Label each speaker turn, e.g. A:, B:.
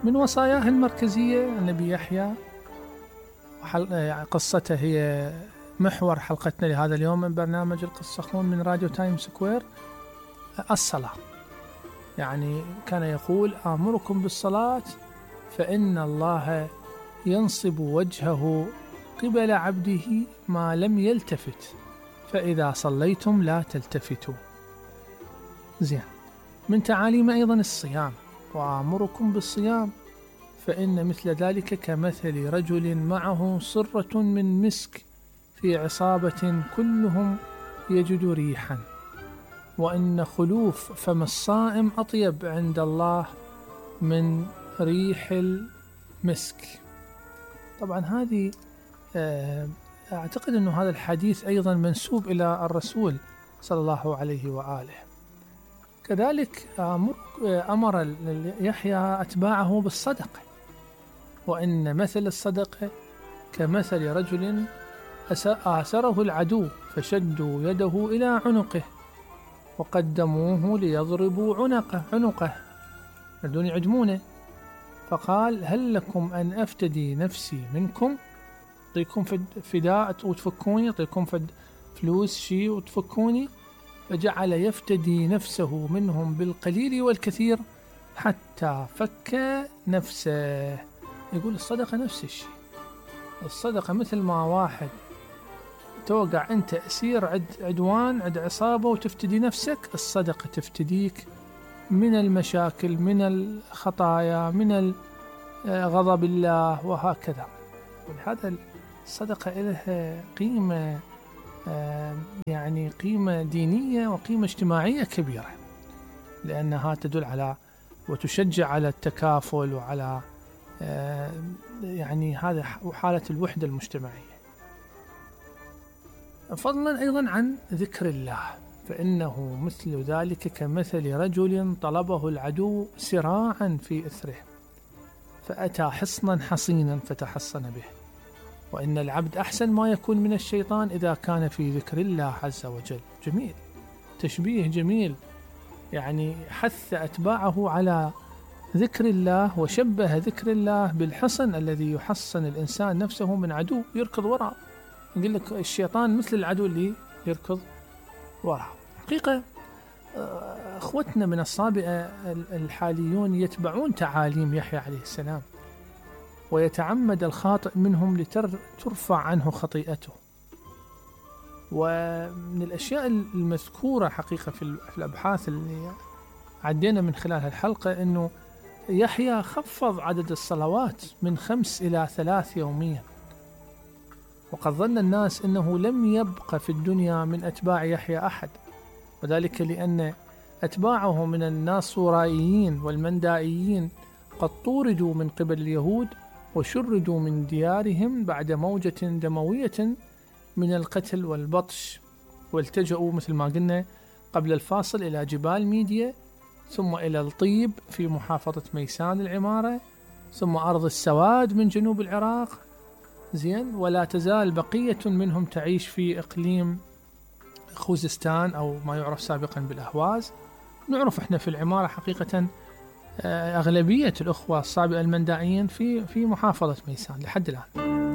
A: من وصاياه المركزية النبي يحيى، قصته هي محور حلقتنا لهذا اليوم من برنامج القصة خون من راديو تايم سكوير. الصلاة، يعني كان يقول: آمركم بالصلاة فإن الله ينصب وجهه قبل عبده ما لم يلتفت، فإذا صليتم لا تلتفتوا. زين. من تعاليم أيضا الصيام: وآمركم بالصيام فإن مثل ذلك كمثل رجل معه صرة من مسك في عصابة كلهم يجد ريحا، وإن خلوف فم الصائم أطيب عند الله من ريح المسك. طبعا هذه أعتقد أن هذا الحديث أيضا منسوب إلى الرسول صلى الله عليه وآله. كذلك أمر يحيى أتباعه بالصدقة، وإن مثل الصدقة كمثل رجل آسره العدو فشدوا يده إلى عنقه وقدموه ليضربوا عنقه بدون يعدمونه، فقال: هل لكم أن أفتدي نفسي منكم؟ أعطيكم فداء وتفكوني، أعطيكم فلوس شيء وتفكوني؟ فجعل يفتدي نفسه منهم بالقليل والكثير حتى فك نفسه. يقول الصدقة نفس الشيء. الصدقة مثل ما واحد توقع أنت أسير عدوان عد عصابة وتفتدي نفسك، الصدقة تفتديك من المشاكل، من الخطايا، من غضب الله، وهكذا. ولهذا الصدقة لها قيمة، يعني قيمة دينية وقيمة اجتماعية كبيرة، لأنها تدل على وتشجع على التكافل وعلى يعني هذا حالة الوحدة المجتمعية. فضلا أيضا عن ذكر الله: فإنه مثل ذلك كمثل رجل طلبه العدو سراعا في إثره فأتى حصنا حصينا فتحصن به، وإن العبد أحسن ما يكون من الشيطان إذا كان في ذكر الله عز وجل. جميل، تشبيه جميل، يعني حث أتباعه على ذكر الله وشبه ذكر الله بالحصن الذي يحصن الإنسان نفسه من عدو يركض وراء. يقول لك الشيطان مثل العدو اللي يركض وراء. حقيقة أخوتنا من الصابئة الحاليون يتبعون تعاليم يحيى عليه السلام، ويتعمد الخاطئ منهم لترفع عنه خطيئته. ومن الأشياء المذكورة حقيقة في الأبحاث اللي عدينا من خلال الحلقة أنه يحيى خفض عدد الصلوات من 5 إلى 3 يوميا، وقد ظن الناس أنه لم يبقى في الدنيا من أتباع يحيى أحد، وذلك لأن أتباعه من الناصورائيين والمندائيين قد طوردوا من قبل اليهود وشردوا من ديارهم بعد موجة دموية من القتل والبطش، والتجأوا مثل ما قلنا قبل الفاصل إلى جبال ميديا، ثم إلى الطيب في محافظة ميسان العمارة، ثم أرض السواد من جنوب العراق. زين. ولا تزال بقية منهم تعيش في إقليم خوزستان أو ما يعرف سابقا بالأهواز. نعرف إحنا في العمارة حقيقة أغلبية الأخوة الصابئة المندائيين في محافظة ميسان لحد الآن.